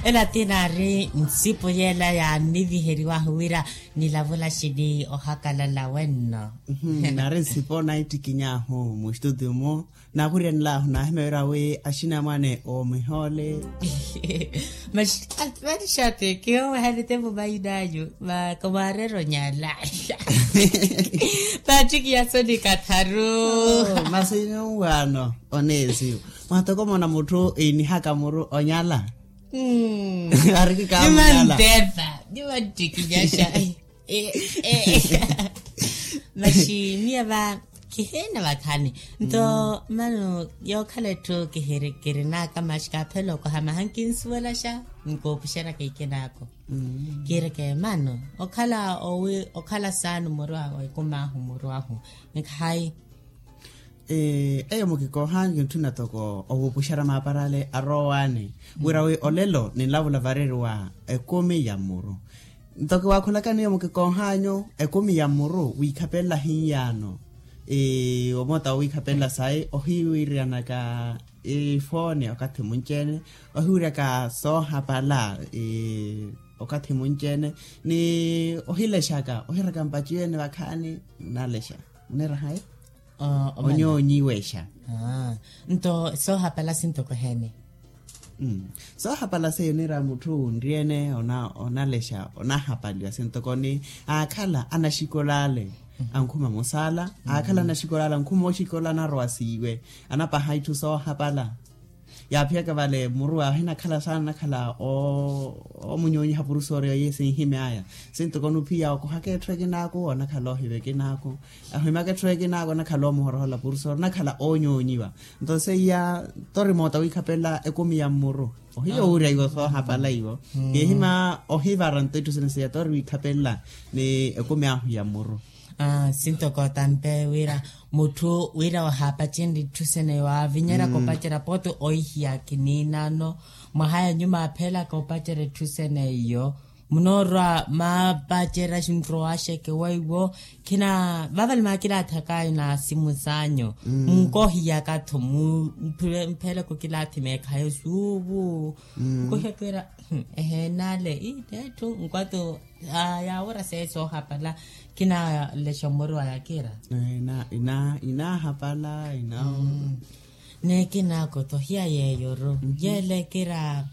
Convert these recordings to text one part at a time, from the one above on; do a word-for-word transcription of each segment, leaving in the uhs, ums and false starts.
Ela ti naari nsipu yeela yaanniviheriwahu wira nilavula xini ohakalala wenno. Naari nsipu naittikiny'ahu mustutio-mu. Naakhuriyanel'ahu naahimya wira wi axinamwane oomihoole. Masi vanixa ti kihoowehani tempo main'anyu. Vakomaareru onyala. Paattikiya soni katharu. Masi nyuwaano oneesiyo. Mwatokomona mutthu iinihaka muru onyala. Arikikaamunyala. Nimantepa nimattikinyaxa. Masi miya va kihiina vakhani. Nto mano yookhala etthu kihiri kirinaka masi kaaphela okoha maha nkinsuwelaxa. Nkoopuxeraka ikinaako. Kiireke mano okhala owi okhala saani muru ahu ekumaahu muru ahu. Nkhayi. Eyo mukikoohanyu kintthuna toko ovupuxera maaparale arowaani wira wi olelo ninlavula vareriwa ekumi ya mmuru. Nto kiwaakhulakani eyo mukikoohanyu ekumi ya mmuru wiikhapelela hinyaano. Omoota wowiikhapelela sayi ohiwiriyanaka ifooni okathi munci-ene ohiwiryaka soohapala okathi munci-ene ni ohilexaka ohiraka mpaci-ene vakhaani. Nalexa munirahayi. Onyoonyiwexa. Nto soohapala sintoko heeni? Soohapala seiyo onira mutthu onriyene onalexa onahapaliwa sintoko ni aakhala anaxikola ale ankhuma mosaala aakhala anaxikola ale ankhuma oxikola anarowa siiwe anapaha itthu soohapala. Yaaphiyaka vale muru awe ahinakhala saana anakhala omunyonyiha purusoori oye sinhimy'aya. Sintoko onuphiya okohaka etthu ekinaaku onakhala ohiva ekinaaku ahimyaka etthu ekinaaku onakhala omuhorohola purusoori onakhala onyonyiwa. Nto seiya tori moota wiikhapelela ekumi ya mmuru ohiya owurya iwo soohapala iwo. Kihima ohivara nto itthu sina seiya tori wiikhapelela ni ekumi ahu ya mmuru. Sintoko tampe wira mutthu wira ohaapacerya itthu sene waavinyeraka opacerya pooti oihiya kiniinano mwaha ya nyuma aaphelaka opacerya itthu sene iyo. Munoorwa maapacerya xinrowaxeke weiwo khina vavale maakilaathi akaayo na simu saanyu. Munkoohiyaka-tho mupheleke okilaathi meekhayo suuvu. Nkohiya kiira eheena ale ii neetthu nkwato. Yaawora seeso ohapala. Kinalexa omuru aya kiira. Inaahapala inaawo. Neekinaako tohiya yeeyoru yeele kiira.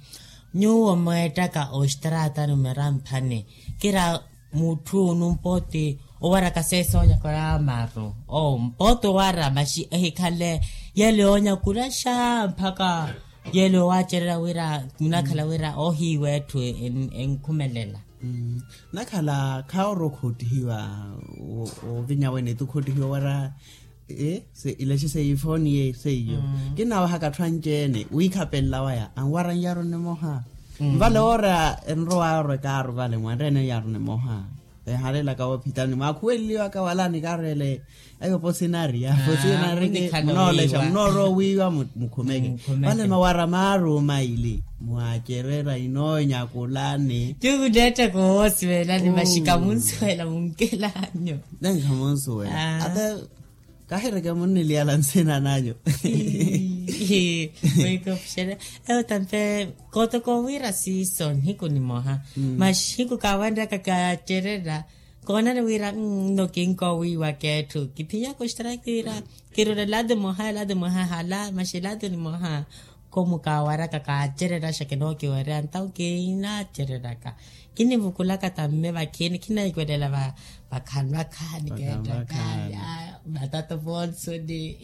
Nyuwo mweettaka oxtaraatani mweramphani kiira. Mutthu numpooti owaraka seeso onyakula maru oo mpooti owara maxi ehikhale yeele onyakulaxa mpakha. Yeele owaacererya wira munakhala wira ohiiwa etthu enkhumelela. Nakhala khaaworo okhottihiwa ovinya wene ti okhottihiwa wara. Ilaxi seiyo ifooni yeiyo seiyo. Kinawahaka atthu anci-ene wiikhapelela waya anwara nyaro nimoha. Nvale woora enrowaya orwa ekaaru vale mwanreene nyaro nimoha. Ehalelaka woophitani mwaakhuweleliwaka wala nikaarwele. Ayo posinari aposinari munoolesha munoorowa owiiwa mukhumeke. Vale mawara maaru maili mwaacererya inoonyakulani. Ti muneettaka owoosiwelani maxi khamunsuwela munkelanyu. Nenkhamunsuwela ata. Kahireke munniliyala nsina nanyu. Mwikopuxela eyo tampe. Kootoko wira siiso nihiku nimoha maxiku kaawanryaka kaacererya. Koonani wira nno kinkoowiiwaka etthu kiphinyaka oxitara kiira. Kirula elado emoha elado emoha hala maxi elado nimoha. Koomu kaawaraka kaacererya xakina okiwerya ntawo kiinaacereryaka. Kinivukulaka tamme vakhini khinaiwelela vakhani vakhani keettaka. Matata vonsoni.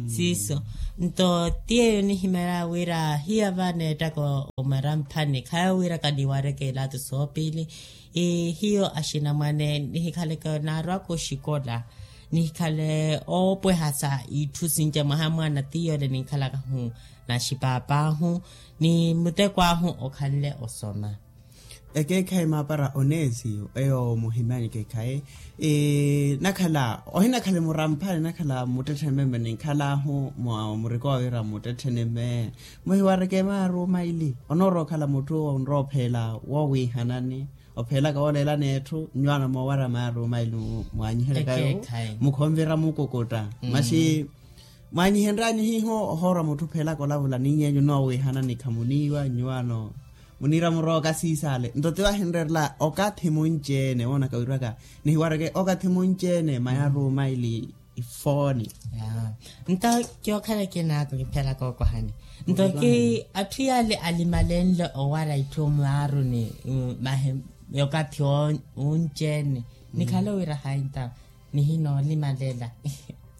Siiso nto ti yeeyo nihimeerya wira hiya va neettaka omweramphani khayo wira kaniwareke ilaato soopili. Hiyo axinamwane nihikhaleke naarwaka oxikola nihikhale oopweha sa itthu sinci mwaha mwaana ti yoole ninkhalakahu na xipaapahu ni muteko ahu okhanle osoma. Ekeekhayi maapara oneesiyo eyo muhimyani ekeekhayi. Nakhala ohinakhale muramphani nakhala mmuttetthene meme ninkhalaahu murikowa wira mmuttetthene meme muhiwareke maaru maili onoorowa okhala mutthu onrowa opheela woowiihanani. Opheelaka wooleelani etthu nnyuwaano moowara maaru maili mwaanyiheryakayo mukhonvira mukukutta. Maxi mwaanyihenryanyu hiiho ohoorwa mutthu opheelaka olavula niny'enyu noowiihanani khamuniiwa nnyuwaano. Muniira murooka siisale nto tiwahinrerela okathi munci-ene woonaka wiraka nihiwareke okathi munci-ene mayaruuma ili ifooni. Nto kiokhala kinaako kiphelaka okohani nto ki atthu yaale alimalenle owara itthu maaruni mahi okathi wunci-ene nikhale owira hayi nto nihinoolimalela.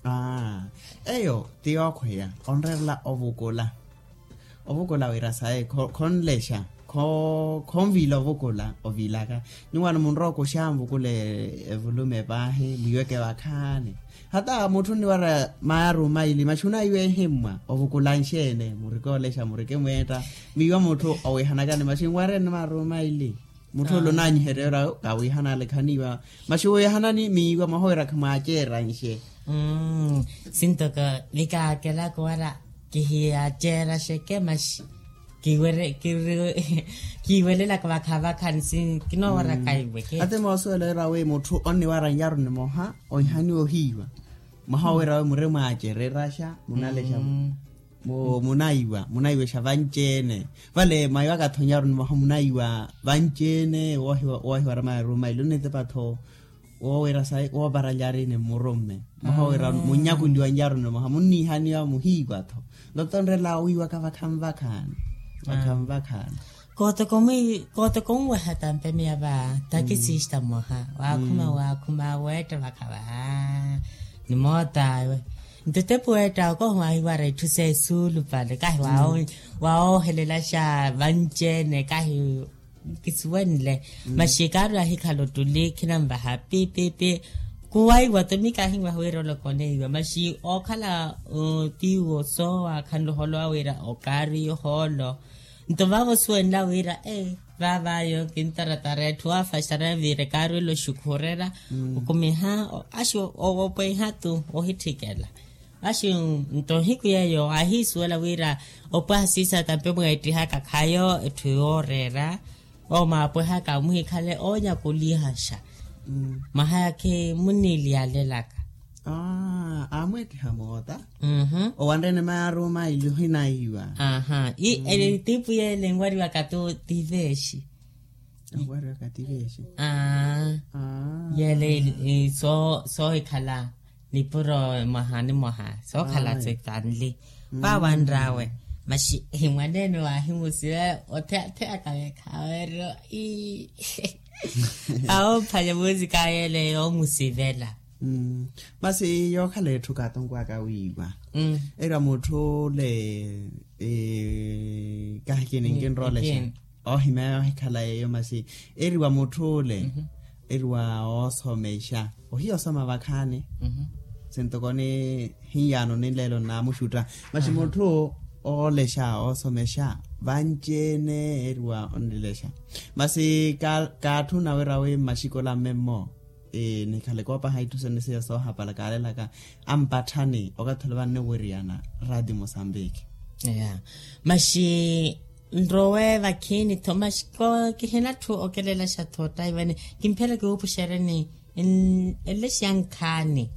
Aa eyo ti yookhweya onrerela ovukula ovukula wira sayi khonlexa khonviila ovukula oviilaka nyuwaano munrowa okuxa nvukule evulume paahi mwiiweke vakhaani hata mutthu onniwara mayaruuma ili maxi onaiwa ehimmwa ovukula nxeene murike olexa murike mweetta mwiiwa mutthu owihanakani maxi nwareni mayaruuma ili mutthu ole onaanyiherya ora kawiihanale khaniiwa maxi wiihanani miiwa mwaha wira khimwaaceera nxe. Sintoko vikaakelaka owara kihiyaceeraxeke maxi kiiwelelaka vakhavakha nsi kinoowaraka iweke. Ate moosuwela wira wi mutthu onniwara nyaro nimoha oihaniwa ohiiwa mwaha wira wi mure mwaacereraxa munalexa munaiwa munaiwexa vanci-ene vale mwaiwaka-tho nyaro nimoha munaiwa vanci-ene woohiwara mayaruuma ili onitepa-tho woowira sayi wooparalyari ni mmurumme mwaha wira munnyakuliwa nyaro nimoha munniihaniwa muhiiwa-tho nto tonrela owiiwaka vakhanvakhani vakhanvakhani. Kootoko onweha tampe miya va takisista mmoha waakhuma waakhuma weetta vakha vaha ni moot'awe nto etepu weetta okohi waahiwara itthu s'esuulupale kahi waoohelelaxa vanci-ene kahi kisuwenle maxi kaari ahikhala ottuli khinanvaha pipipi kuwaiwa-tho mikahinwaha wira ole okoneiwa maxi ookhala tiwo soowa khanluholowa wira okaari ohoolo nto vaavo osuwenla wira ee vaavaayo kintaratara etthu waafaxana viira ekaari ole oxukhurerya okumiha axi opweha-tu ohitthikela axi nto nihiku yeeyo ahiisuwela wira opwaha siisa tampe mweettihaka khayo etthu yooreera omaapwehaka muhikhale oonyakulihaxa mwaha yaakhi munniiliyalelaka aamweettiha moota owanrene mayaruuma ili ohinaiwa aa itiipu yeele enwariwaka tu tiveexi enwariwaka tiveexi aa yeele soohikhala nipuro mwaha ni mwaha sookhala setanli vaawanr'awe maxi mwaneene waahimusiwa otheyatheya kaweekhaweryo ii awo ophwanya muusika yeele yoomusivela masi yookhala etthu kaatonkwaka wiiwa eriwa mutthu ole kahi kini nkinroolexa oohimeya ohikhala yeeyo masi eriwa mutthu ole eriwa oosomexa ohiya osoma vakhaani sintokoni hiyaano ninleelo nnaamuxutta masi mutthu oolexa oosomexa vanci-ene eriwa onnilexa masi kaatthuna wira wi mmaxikola mmemmo nikhale koopaha itthu sene siya soohapala kaalelaka ampatthani okathi ole vanniwiriyana raati musambiki maxi nrowe vakhiini-tho maxi kihina-tho okelelaxa-tho ottaivani kimphela kiwuupuxereni enlexiya nkhaani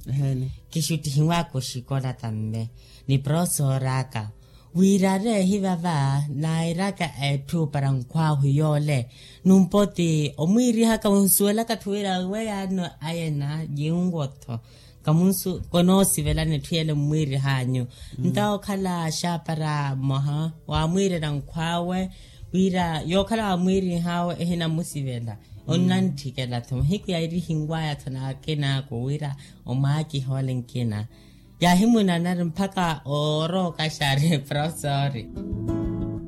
kixuttihiwaka oxikola tamme ni professor'aka wira areehi vava nairaka etthu para nkhwaahu yoole numpo ti omwiirihaka onsuwelaka-tho wira weyaano ayena yiiwo-tho kamunsu konoosivelani etthu yele mmwiirihanyu ntawo okhala xaapara mmoha waamwiirela nkhw'awe wira yookhala waamwiirih'awe ehinamusivela onnantthikela-tho mahiku yairihinwaya-tho n'akin'aku wira omwaakiha ole nkina yaahimunanari mpakha oorooka xaari profesori